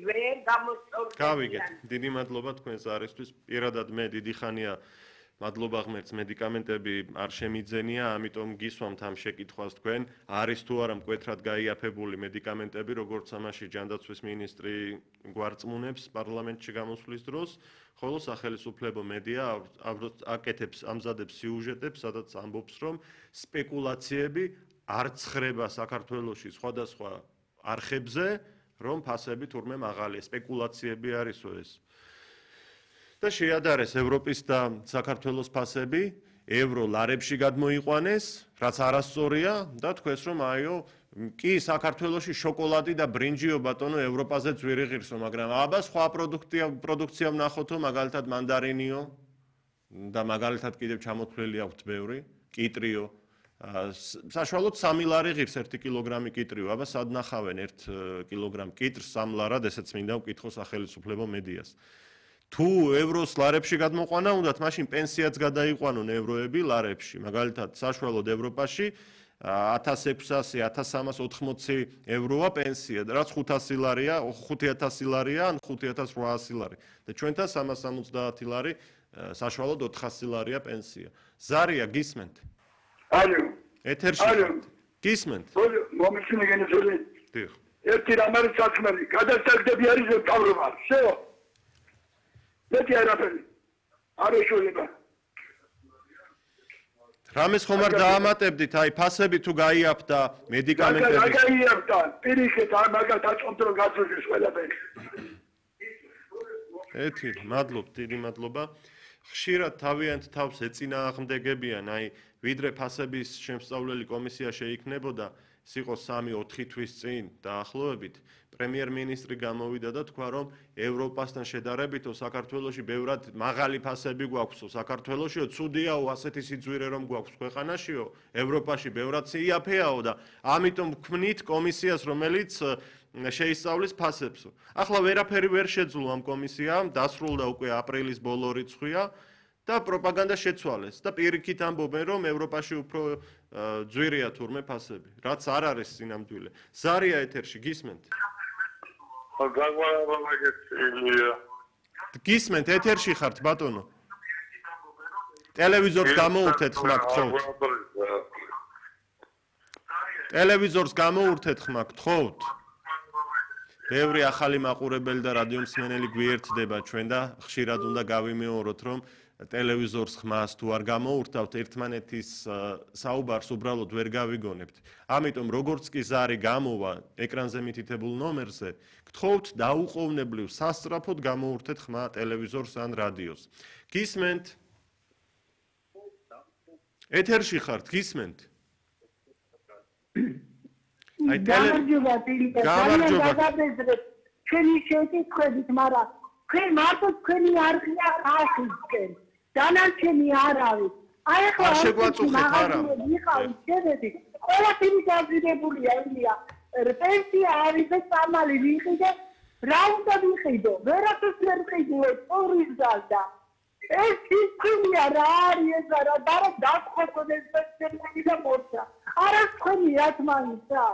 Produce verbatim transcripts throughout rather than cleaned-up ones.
ვერ გამოსწორდება. გავიგეთ, დიდი მადლობა თქვენს არისთვის. პირადად მე დიდი ხანია მადლობა ღმერთს მედიკამენტები არ შემიძენია, ამიტომ გისვამთ ამ შეკითხვას თქვენ, არის თუ არა მკვეთრად გაიაფებული მედიკამენტები, როგორც ამაში ჯანდაცვის მინისტრი გვარწმუნებს პარლამენტში გამოსვლის დროს, ხოლო სახელმწიფო მედია აკეთებს, ამზადებს სიუჟეტებს, სადაც ამბობს, რომ სპეკულაციები არ ცხრება საქართველოში სხვადასხვა არხებზე, რომ ფასები თურმე მაღალია, სპეკულაციები არისო ეს. და შეადარეს ევროპის და საქართველოს ფასები, ევრო ლარებში გადმოიყვანეს, რაც არასწორია და თქვენს რომ აიო, კი საქართველოში შოკოლადი და ბრინჯიო ბატონო ევროპაზეც ვერ იღირსო, მაგრამ აბა სხვა პროდუქტია პროდუქცია ვნახოთო, მაგალითად მანდარინიო და მაგალითად კიდევ ჩამოთვლილი აქვთ ბევრი, კიტრიო. საშუალოდ სამი ლარი ღირს ერთი კილოგრამი კიტრიო, აბა სად ნახავენ ერთ კილოგრამ კიტრს სამ ლარად, ესეც მინდა ვკითხო სახელმწიფო მედიას. თუ ევროს ლარებში გადმოყვანა უნდათ, მაშინ პენსიაც გადაიყვანონ ევროები ლარებში. მაგალითად, საშუალოდ ევროპაში ათას ექვსასი ათას სამას ოთხმოცი ევროა პენსია, რაც ხუთასი ლარია, ხუთი ათასი ლარია, ან ხუთი ათას რვაასი ლარი. და ჩვენთან სამას სამოცდაათი ლარი, საშუალოდ ოთხასი ლარია პენსია. ზარია გისმენთ? ალო. ეთერში. ალო. გისმენთ? მომისმინე გენეცელი. დიახ. ერთი რამ არის საქმე, გადასტაგდები არის თავრობა. შეო. მეტი არაფერი. არ ეშუება. რამეს ხომ არ დაამატებდით, აი ფასები თუ გაიაფთა მედიკამენტები. რა გაიაფთა? პირიქით არ მაგათ აწყობთ რომ გაწევს ყველაფერი. ეთი, მადლობ, დიდი მადლობა. ხშირად თავიანთ თავს ეწინააღმდეგებიან, აი ვიდრე ფასების შემსწავლელი კომისია შეიქმნებოდა, ეს იყო სამი ოთხი თვის წინ დაახლოებით, პრემიერ-მინისტრი გამოვიდა და თქვა, რომ ევროპასთან შედარებითო საქართველოში ბევრად მაღალი ფასები გვაქვსო, საქართველოშიო ცუდიაო, ასეთი სიძვირე რომ გვაქვს ქვეყანაშიო, ევროპაში ბევრად იაფეაო და ამიტომ ვქმნით კომისიას, რომელიც შეისწავლის ფასებსო. ახლა ვერაფერი ვერ შეძლო ამ კომისიამ, დასრულდა უკვე აპრილის ბოლო რიცხვია და პროპაგანდა შეცვალეს და პირიქით ამბობენ, რომ ევროპაში უფრო ძვირია თურმე ფასები, რაც არ არის სინამდვილე. ზარია ეთერში, გისმენთ? გისმენთ, ეთერში ხართ, ბატონო? ტელევიზორს გამოურთეთ ხმა გთხოვთ. ტელევიზორს გამოურთეთ ხმა გთხოვთ. ბევრი ახალი მაყურებელი და რადიო მსმენელი გვიერთდება ჩვენ და ხშირად უნდა გავიმეოროთ, რომ ტელევიზორს ხმას თუ არ გამოურთავთ, ერთმანეთის საუბარს უბრალოდ ვერ გავიგონებთ. ამიტომ როგორც კი ზარი გამოვა ეკრანზე მითითებულ ნომერზე, გთხოვთ დაუყოვნებლივ სასწრაფოდ გამოურთეთ ხმა ტელევიზორს ან რადიოს. გისმენთ? ეთერში ხართ, გისმენთ? აი გამარჯობა ტილიკა, გამარჯობა. ჩვენი შეკითხვებით, მაგრამ თქვენ მარტო თქვენი არხია ხალხისკენ. დანარჩენი არ არის. აი ახლა არ შეგვაწუხეთ არა. იყავით შედები. ყველაფერი დაზიდებულია ილია. პენსია არის და სამალი ვიყიდე, რა უნდა ვიყიდო? ვერაფერს ვერ ვიყიდე, პორის გალდა. ეს ისინია რა არის ეს რა და დაგხვეწოდეს პენსიები და მოცა. არა თქვენი ათმანისა.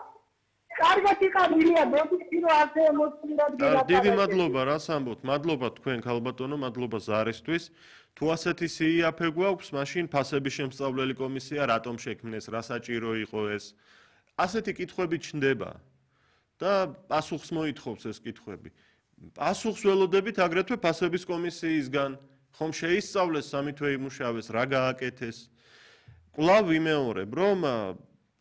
კარგად იყავილია, მოგიწი რომ ასე ემოციურად გელაპარაკეთ. დიდი მადლობა, რას ამბობთ? მადლობა თქვენ ქალბატონო, მადლობა ზარისთვის. თუ ასეთი სიიაფე გვაქვს, მაშინ ფასების შემსწავლელი კომისია რატომ შექმნეს, რა საჭირო იყო ეს? ასეთი კითხვები ჩნდება და პასუხს მოითხოვს ეს კითხვები. პასუხს ველოდებით აგრეთვე ფასების კომისიისგან, ხომ შეისწავლეს სამი თვე იმუშავეს, რა გააკეთეს. კვლავ ვიმეორებ, რომ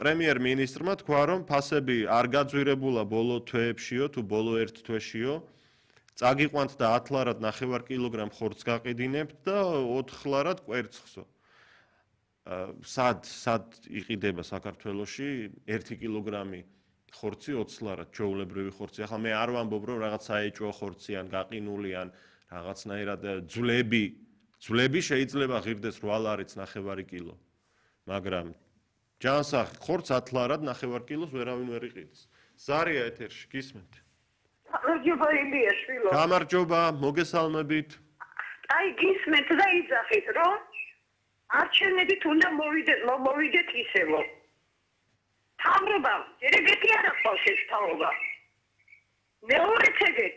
პრემიერ-მინისტრმა თქვა, რომ ფასები არ გაძვირებულა ბოლო თვეებშიო თუ ბოლო ერთ თვეშიო. წაგიყვანთ და ათ ლარად ნახევარ კილოგრამ ხორცს გაყიდინებთ და ოთხ ლარად კვერცხსო. სად სად იყიდება საქართველოში ერთი კილოგრამი ხორცი ოცი ლარად, ჩვეულებრივი ხორცი. ახლა მე არ ვამბობ, რომ რაღაც საეჭვო ხორცი ან გაყინული ან რაღაცნაირად ძვლები, ძვლები შეიძლება ღირდეს რვა ლარიც ნახევარი კილო. მაგრამ ჯანსაღი ხორცს ათ ლარად ნახევარ კილოს ვერავინ ვერ იყიდის. ზარია ეთერში, გისმენთ? გამარჯობა ილია შვილო. გამარჯობა, მოგესალმებით. აი გისმენთ და იძახით, რომ არჩევნებით უნდა მოვიდეთ, მოვიდეთ ისევო. თავრობა, ერეგეთი არ ახავს ეს თავრობა. მეორე ცეგეთი